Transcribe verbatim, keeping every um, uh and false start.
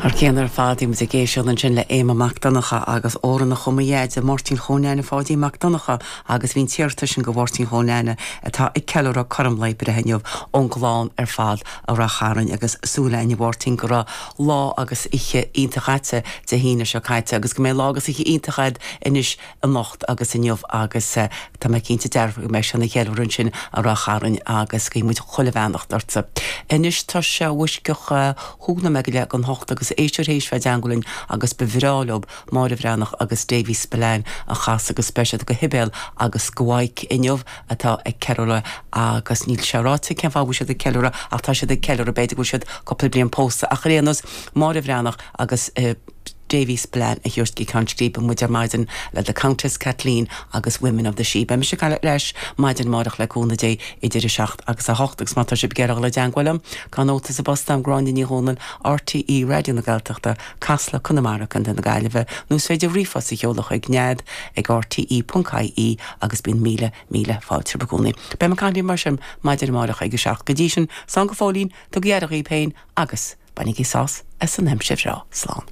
Thar cionn ar fad muid ag éisteacht ansin le Éamonn Mac Donncha agus Óran a chumaiade Máirtín Chónáine Pháidí Mac Donncha agus bhí an t-iarratas sin go Mháirtín Chónáine atá ag ceiliúradh cothrom lae breithe inniu ón gclann ar fad i Ráth Chairn agus súil againn a Mháirtín go raibh lá agus oíche iontach agat Dé hAoine seo caite agus go mbeidh lá agus oíche iontach agat anois anocht agus inniu agus uh, tá mé cinnte dearfa go mbeidh sé ina cheiliúradh ansin i Ráth Chairn agus guímid chuile bheannacht ortsa. Anois tá sé uisceach thúna me go le an hocht agus éisteoir théis bheith i dteagmháil linn agus ba bhreá leo Máire Bhreathnach agus Davy Spillane a chasadh go speisialta go Sibéal agus go Mhaidhc inniu atá ag ceiliúradh agus níl sé ráite cén fáth siad ag ceiliúradh ach tá siad ag ceiliúradh b'fhéidir go bhfuil siad cúpla bliain pósta ach ar aon nós Máire Bhreathnach agus uh, Davy Spillane a thabhairt go ceann scríbe muid ar maidin le the Countess Kathleen agus Women of the Sidhe. Beidh mise leis maidin amárach le cúnamh Dé idir a seacht agus a hocht agus má tá sibh ag iarraidh dul i dteagmháil liom gan nóta sa bpost agam Gráinne Ní Dhomhnaill RTÉ Raidió na Gaeltachta Casla Conamara Contae na Gaillimhe nó is féidir ríomhphost a sheoladh ag nead ag RTE.ie agus bíonn míle míle fáilte i gcónaí. Beidh mé caint mar sin maidin amárach ag a seacht go dtí sin slán go fóillín tugaigí aire daoibh féin agus bainigí sás as an aimsir bhreá slán.